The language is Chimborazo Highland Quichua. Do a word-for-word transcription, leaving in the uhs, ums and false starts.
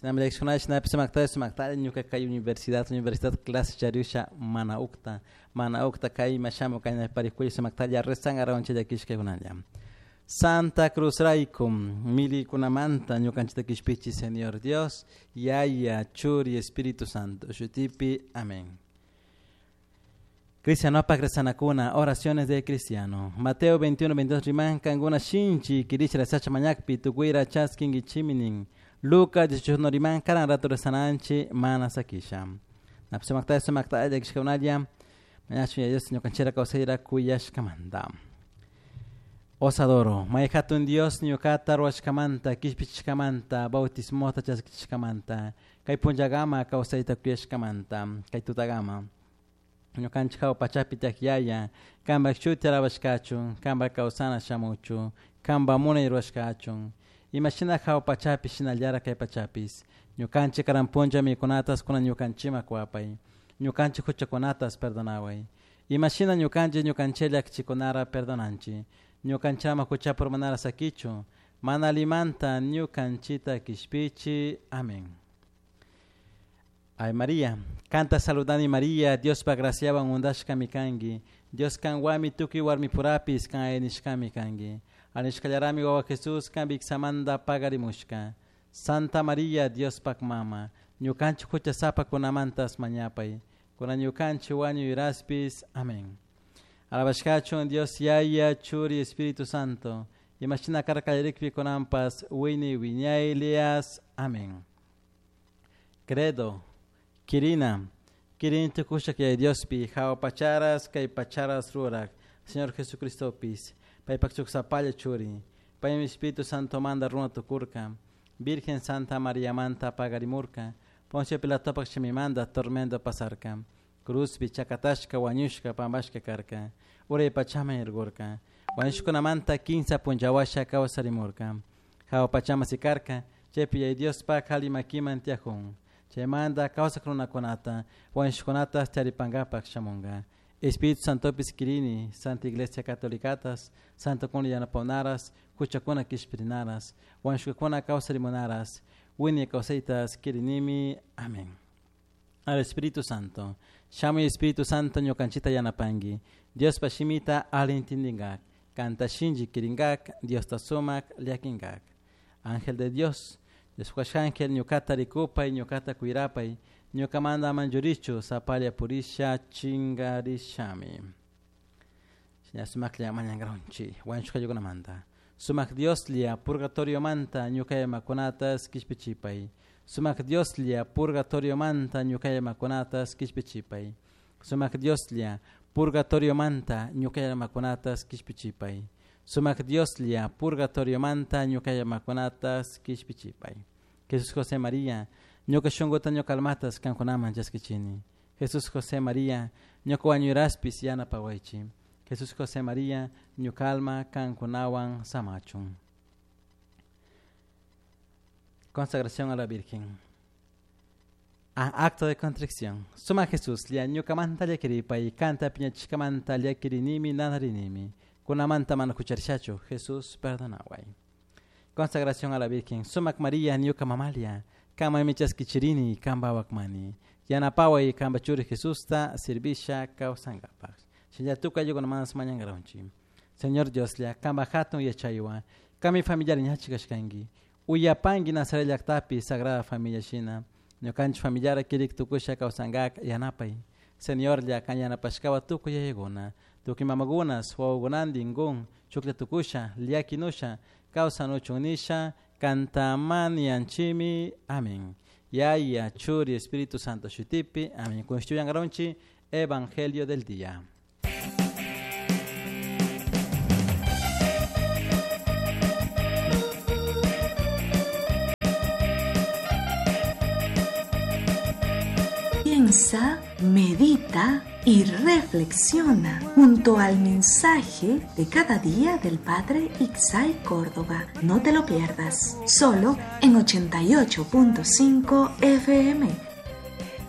Shinami shinapi sumakta sumakta ñuka kay universidad universidad clase charisha mana ukta mana ukta kay mashamu kay parikuy sumaktalla rezangaronchi llakishkakunalla. Santa Cruz raykum milikunamanta ñukanchita kishpichi Señor Dios, Yaya, Churi, Espíritu Santo. Shutipi, amén. Cristiano pa oraciones de cristiano. Mateo veintiuno, veintidós riman kanguna shinchi kirichra sacha mañakpi tukuira chaskin chiminin. Lucas dieciocho riman karan rato rezananchi mana sakisha. Napsumakta sumakta llakishkakunalla mañachu ya Dios ñukanchira kawsayra kuyashkamanta. Os adoro, may hatun Dios ñuqata ruwashkamanta, kishpichishkamanta, bautismota chaskishkamanta, kay punllagama kawsayta kuyashkamanta, kay tutagama. Ñuqanchik hawa pachapi taq kanpak shuti alabashkachun, kanpak kawsana shamuchun, kanpak munay ruwashkachun. Imashina hawa pachapi shinallara kay pachapis. Ñuqanchik karan punlla mikunatas kunan ñuqanchikman kuwapay. Ñuqanchik huchakunatas perdonaway. Imashina ñuqanchik ñuqanchik llakichikunara perdonanchik. Ñukanchama huchapur manara sakichu, mana limanta ñukanchita kishpichi. Amén. Ay María, canta saludani María, Dios pa graciawan undashkami kanki, Dios kanwami tukuy warmipurapis kan aynishkami kanki. Anishkallarami wawa Jesús kan viksamanta pagarimushka. Santa María, Dios pak mama, ñukanchik huchasapakunamantas mañapay, kuna ñukanchik wañuyraspis. Amén. Alabashkachun Dios Yaya, Churi, Espíritu Santo. Imashina karkallarikpi kunampas wini wiñaylias. Amén. Credo, Kirina, Kirin tukushak yay Diospi, hawa pacharas kay pacharas rurak, Señor Jesucristopis, paypak chuksapalla churi, paymi Espíritu Santo manda runa tukurka, Virgen Santa María manta pagarimurka, Poncio Pilatopak shimimanda tormento pasarka. Cruzpi chakatashka wañushka pampashka karka, uray pachaman irgurka, wañushkunamanta kinsa punllawasha kawsarimurka, hawa pachama sikarka, chaypi yay Diospak halimakiman tiyajun, chaymanta kawsak runakunata, wañushkunata charipankapak shamunka. Espíritu Santopis kirini, Santa Iglesia Catolicatas, Santo kuna yanapawnaras, huchakuna kishpirinaras, wañushkakuna kawsarimunaras, wiñay kawsaytas kirinimi. Amén. Al Espíritu Santo. Shamuy Espíritu Santo ñukanchita yanapanki. Dios pashimita alintindingak. Kanta shinji kiringak. Dios ta sumak llakinkak. Ángel de Dios. Dios ángel ñukata rikupay, ñukata kuirapay. Ñukamanta manchurichu sapalla purisha chingarishami. Sumaklla mañankaronchi. Wañushkayukunamanta. Sumak Dioslla purgatorio manta ñukayamakunatas kishpichipay. Sumak Dioslla purgatorio manta ñukayamakunatas kishpichipay. Sumak Dioslla purgatorio manta ñukayamakunatas kishpichipay. Sumak Dioslla purgatorio manta ñukayamakunatas kishpichipay. Jesús José María, ñuka shunkuta ñuka almatas kankunaman chaskichini. Jesús José María, ñuka wañuyraspis yanapawaychi. Jesús José María, ñuka alma kankunawan samachun. Consagración a la Virgen. Ah, acto de contrición. Suma Jesús, lia ñukamanta llakiripay, kanta piñachishkamanta llakirinimi nanarinimi. Kunamanta mana hucharishachu, Jesús perdonaway. Consagración a la Virgen. Sumak María, ñuka mamalia, kama michaskichirini, kamba wakmani. Yanapaway kamba churi Jesusta, sirvisha kawsankapak. Shinllatuka yukunamantas mañankaronchi. Señor Dios, lia kamba hatun yachaywan, kami familiar ñachikashkanki. Uyapanki Nazaret llaktapi Sagrada Familia shina. Ñukanchik familiara kirik tukusha kawsankak yanapay. Señor lla kan yanapashkawa tukuy yayakuna. Tukuy mamakunas wawakunantin kun chuklla tukusha llakinusha kawsanuchun nisha kantamanianchimi. Amén. Yaya, Churi, Espíritu Santo shutipi. Amén. Kushtuyankaronchi Evangelio del día. Piensa, medita y reflexiona junto al mensaje de cada día del Padre Ixay Córdoba. No te lo pierdas, solo en ochenta y ocho punto cinco F M.